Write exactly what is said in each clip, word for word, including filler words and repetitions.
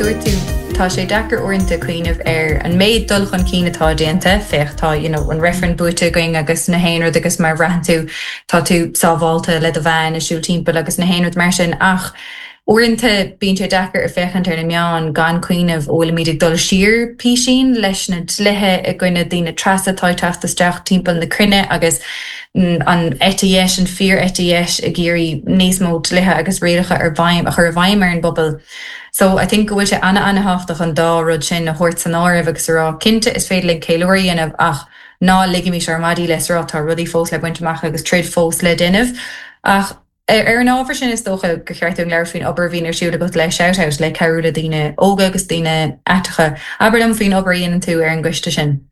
dúirt tú tá sé deacair uaireanta cuimhneamh ar an méid dul chun cinn atá déanta féach tá you know, an reifreann buaite againn agus na haon rud agus mar bhraitheann tú tá tú sábháilte le do bhean ag siúl timpeall agus na haon rud mar sin ach uaireanta bíonn sé deacair a féachaint ar na meáin gan cuimhneamh bhfuilimid ag dul siar píosaín leis na dlíthe i gcoinne daoine tras atá ag teacht isteach timpeall na cruinne agus an eite dheis an fíor-eite dheis ag iarraidh níos mó dlíthe agus rialacha ar bhfeidhm a chur i bhfeidhm ar an bpobal. So I think go bhfuil sé an-an-tábhachtach an dá rud sin a thabhairt san áireamh agus a rá cinnte is féidir linn ceiliúradh a dhéanamh ach ná ligimis ár maidí leis rá tá rudaí fós le baint amach agus troid fós le déanamh. Ach ar an ábhar sin is dócha gur cheart dúinn labhairt faoin obair a bhíonn ar siúl agat le Shout le cabhrú le daoine óga agus daoine aiteacha. Abair liom faoin obair a dhéanann tú ar an gcoiste sin.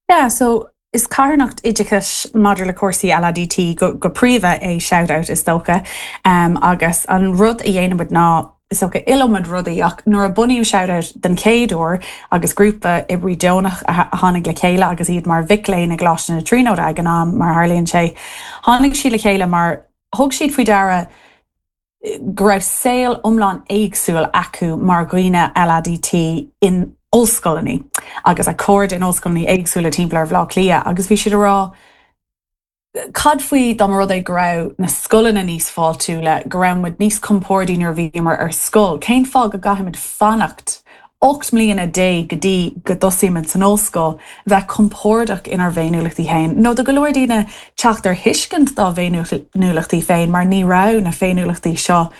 Yeah, so is carthanacht oideachais maidir le cúrsaí LADT go, go príomha é Shout is dócha um, agus an rud a dhéanaimid ná is dócha iliomad rudaí ach nuair a bunaíodh Shout den chéad uair agus grúpa oibrí deonach a tháinig le chéile agus iad mar mhic léinn i gColáiste na Tríonóide ag an am mar tharlaíonn sé. Tháinig siad le chéile mar thug siad faoi deara go raibh saol iomlán éagsúil acu mar dhaoine LADT in ollscoileanna agus a cairde in ollscoileanna éagsúla timpeall ar Bhaile Átha Cliath agus bhí siad ag rá Cad faoi dá rud é go raibh na scoileanna níos fáiltiúla go raibh muid níos compordaí nuair a bhíomar ar scoil, Cén fáth go gcaithfimid fanacht ocht mbliana déag go dtí go dtosaímid san ollscoil bheith compordach inár bhféiniúlachtaí féin. Nó do go leor daoine teacht ar thuiscint dá bhféiniúlachtaí féin mar ní raibh na féiniúlachtaí seo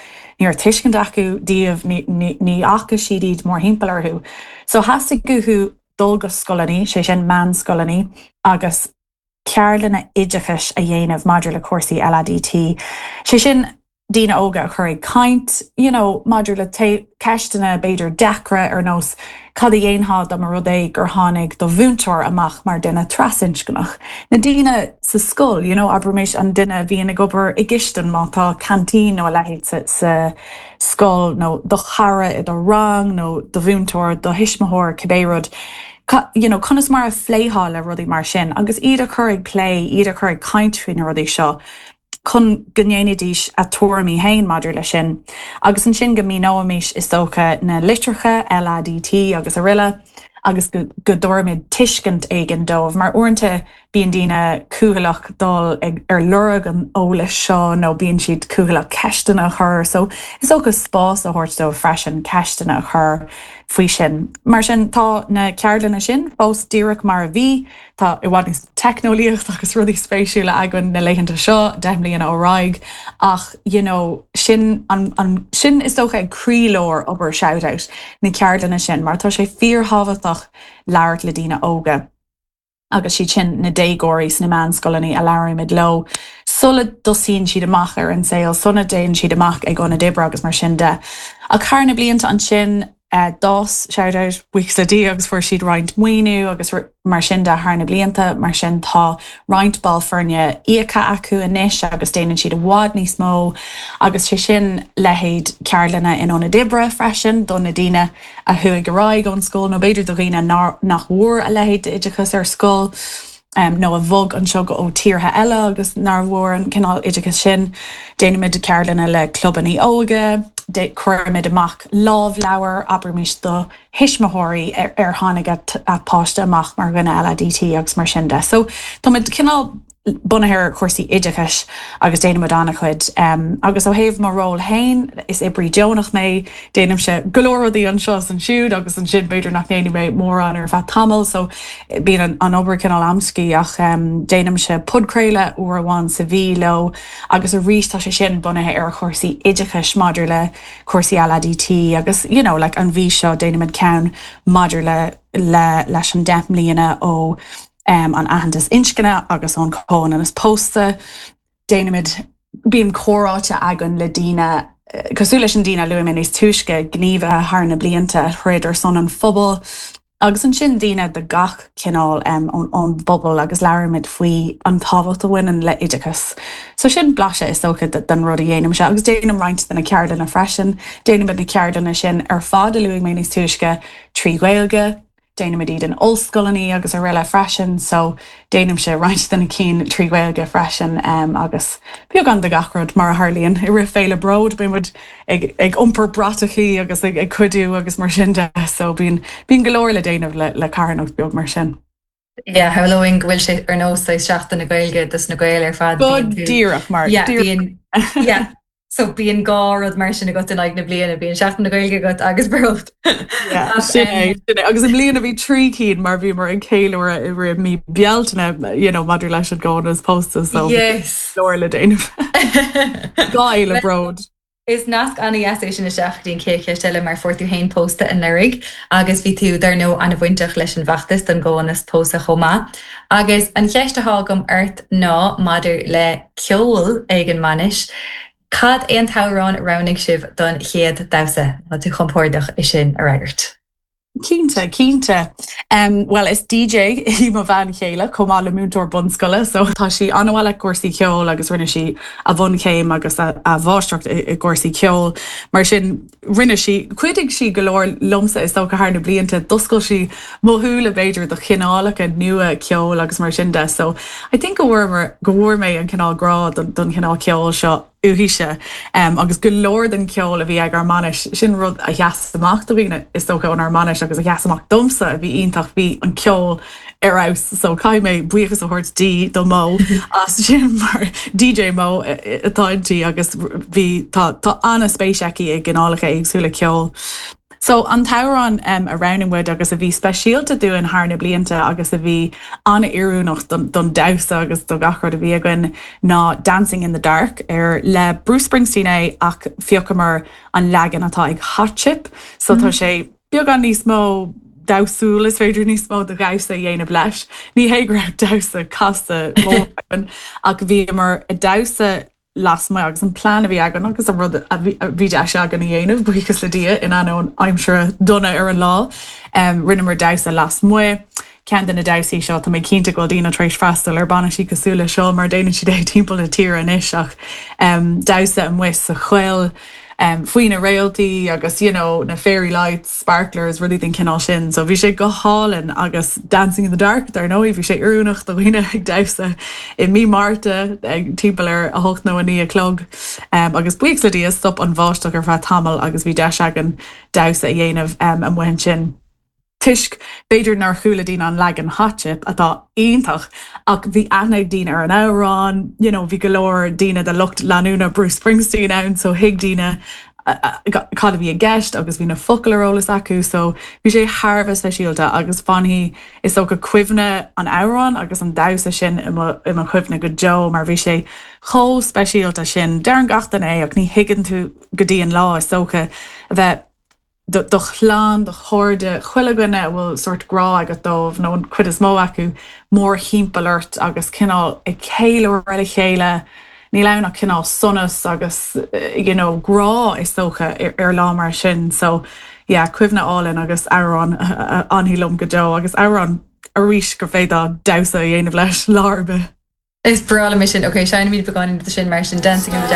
ní raibh tuiscint acu díobh ní fhaca siad iad mórthimpeall orthu. So theastaigh uathu dul go scoileanna, sé sin meánscoileanna agus ceardlanna oideachais a dhéanamh maidir le cúrsaí LADT. Sé sin daoine óga a chur ag caint, you know, maidir le ceisteanna b'fhéidir deacra ar nós cad a dhéanfá dá mba rud é gur tháinig do mhúinteoir amach mar duine trasinscneach. Na daoine sa scoil, you know, abraimis an duine a bhíonn ag obair i gcistin má tá canteen nó a leithéid sa, sa scoil nó do chara i do rang nó do mhúinteoir, do thuismitheoir cibé rud. You know, conas mar a phléifeá le rudaí mar sin, agus iad a chur ag plé, iad a chur ag caint faoi na rudaí seo. chun go ndéanfaidís a dtuairimí féin maidir leis sin. Agus ansin go míneoimis is dócha na litreacha LADT agus araile, agus go dtabharfaimid tuiscint éigin dóibh, mar uaireanta bíonn daoine cúthaileach dul ag ar lorg an eolais seo nó bíonn siad cúthaileach ceisteanna a chur, so is dócha spás a thabhairt dóibh freisin ceisteanna a chur faoi sin. Mar sin tá na ceardlanna sin fós díreach mar a bhí, Tá i bhfad níos teicneolaíocht agus rudaí spéisiúla againn na laethanta seo deich mbliana ar aghaidh ach you know, sin an, an, sin is dócha ag croílár obair Shout na ceardlanna sin, mar tá sé fíorthábhachtach labhairt le daoine óga. agus siad sin na déagóirí sna meánscoileanna a labhraímid leo. Sula dtosaíonn siad amach ar an saol, sula dtéann siad amach ag ionaid oibre agus mar sin de. Ach thar na blianta ansin uh, d'fhás Shout buíochas le Dia agus fuair siad roinnt maoiniú agus mar sin de thar na blianta, mar sin tá roinnt ball foirne íoctha acu anois agus déanann siad i bhfad níos mó agus sé sin leithéid ceardlanna in ionaid oibre freisin do na daoine a chuaigh ar aghaidh ón scoil nó b'fhéidir do dhaoine nach bhfuair a leithéid d'oideachas ar scoil. Um, nó a bhog anseo go ó tíortha eile agus nach bhfuair an cineál oideachas sin, déanaimid ceardlanna le clubanna óige, cuirimid amach lámhleabhar abraimis do thuismitheoirí ar, ar tháinig a páiste amach mar dhuine LADT agus mar sin de. So Tá cineál bunaithe ar chúrsaí oideachais agus déanaimid an-chuid um, agus ó thaobh mo ról féin is oibrí deonach mé déanaimse go leor rudaí anseo ansiúd agus ansin b'fhéidir nach ndéanfaidh mé mórán ar feadh tamall so bíonn an, an obair cineál amscaí ach um, déanaimse podchraoladh uair amháin sa mhí leo agus arís tá sé sin bunaithe ar chúrsaí oideachais maidir le cúrsaí LADT agus you know, like an mhí seo déanaimid ceann maidir le le leis an deich mbliana ó um, an aitheantas inscne agus ón comhionannas pósta. Déanaimid bíonn comhráite againn le daoine cosúil leis an daoine luaigh mé níos túisce gníomhaithe thar na blianta throid ar son an phobail, agus ansin daoine de gach cineál um, ón, ón bpobal agus labhraímid faoi an tábhacht a bhaineann le oideachas. So sin blaiseadh is dócha den rud a dhéanaimse agus déanaim roinnt de na ceardlanna freisin, déanaimid na ceardlanna sin ar fad a luaigh mé níos túisce trí Ghaeilge, Déanaimid iad in ollscoileanna agus araile freisin, so déanaimse roinnt de na cinn trí Ghaeilge freisin um, agus beagán de gach rud mar a tharlaíonn i rith Féile Bród bímid ag, ag iompar bratachaí agus ag, ag cuidiú agus mar sin de so bíonn bíonn go leor le déanamh le, le carthanacht beag mar sin. Yeah, shamhlóinn go bhfuil sé ar nós Seachtain na Gaeilge dos na Gaeil ar fad díreach mar yeah. So bíonn dhá rud mar sin agat in aghaidh na bliana bíonn Seachtain na Gaeilge agat agus Bród. agus i mbliana bhí trí cinn mar bhíomar ag ceiliúradh i rith mí Bealtaine you know, maidir leis an gcomhionannas pósta so yes. leor le déanamh. Dhá Fhéile Bród. Is nasc an-deas é sin isteach go dtí an chéad cheist eile mar fuair tú féin pósta anuraidh agus bhí tú dar ndóigh an-bhainteach leis an bhfeachtas don gcomhionannas pósta chomh maith. Agus an cheist atá agam ort ná maidir le ceol ag an mbainis. Cad é an t-amhrán a roghnaigh sibh don chéad damhsa Tá tú compordach é sin a fhreagairt. Cinnte cinnte. Um, well is DJ í mo bhean chéile chomh maith le múinteoir bunscoile, so tá sí an-mhaith le cúrsaí ceoil agus rinne sí a bhunchéim agus a, a mháistreacht i, i gcúrsaí ceoil. Mar sin rinne sí chuidigh sí go leor liomsa is dócha thar na blianta d'oscail sí mo shúile b'fhéidir do chineálacha nua ceoil agus mar sin de. So I think go bhfuair go bhfuair mé an cineál grá don, don chineál ceoil seo uaithise um, agus go leor den ceol a bhí ag ár mbainis sin rud a sheas amach do dhaoine is dócha ónár mbainis agus a sheas amach domsa a bhí iontach bhí an ceol ar fheabhas so caithfidh mé buíochas a thabhairt di do Mo as sin mar DJ Mo atá inti agus bhí tá tá an-spéis aici i gcineálacha éagsúla ceoil. So an t-amhrán um, a roghnaigh muid agus a bhí speisialta dúinn thar na blianta agus a bhí an-oiriúnach don, don damhsa agus do gach rud a bhí againn ná Dancing in the Dark ar le Bruce Springsteen é ach phiocamar an leagan atá ag Hot Chip, so tá mm. sé beagán níos mó damhsúil is féidir níos mó de dhamhsa a dhéanamh leis. Ní hé go raibh damhsa casta ach bhíomar ag damhsa lasmuigh agus an plean a bhí againn agus an rud a bhí deis againn a dhéanamh buíochas le Dia in ainneoin aimsire dona ar an lá um, rinneamar damhsa lasmuigh. Ceann de na damhsaí seo tá mé cinnte go bhfuil daoine tar éis freastal ar bainisí cosúil le seo mar déanann siad é timpeall na tíre anois ach um, damhsa amuigh sa choill um, faoi na réaltaí agus you know, na fairy lights, sparklers, rudaí den chineál sin, so bhí sé go hálainn agus dancing in the dark dar ndóigh bhí sé oiriúnach do dhaoine ag damhsa i mí Márta ag timpeall ar a hocht nó a naoi a chlog um, agus buíochas le Dia stop an bháisteach ar feadh tamall agus bhí deis againn damhsa a dhéanamh um, amuigh ansin. Toisc b'fhéidir nár chuala daoine an leagan Hot Chip atá iontach ach bhí aithne ag daoine ar an amhrán, you know, bhí go leor daoine de lucht leanúna Bruce Springsteen ann so thuig daoine cad a bhí i gceist agus bhí na focail ar eolas acu, so bhí sé thar bheith speisialta agus fanfaidh is dócha cuimhne an amhrán agus an damhsa sin i mo chuimhne go deo mar bhí sé chomh speisialta sin. Deireann gach duine é ach ní thuigeann tú go dtí an lá is dócha a bheith do chlann do chairde chuile dhuine a bhfuil sórt grá agat dóibh nó an chuid is mó acu mórthimpeall ort agus cineál ag ceiliúradh le chéile, Níl ann ach cineál sonas agus you know, grá is dócha ar, ar lá mar sin, so yeah, cuimhne álainn agus amhrán a fhanfaidh liom go deo agus amhrán arís gur féidir damhsa a dhéanamh leis lá ar bith. Is breá liom sin, Ok, seinnfimid beagáinín de sin mar sin dancing in the dark.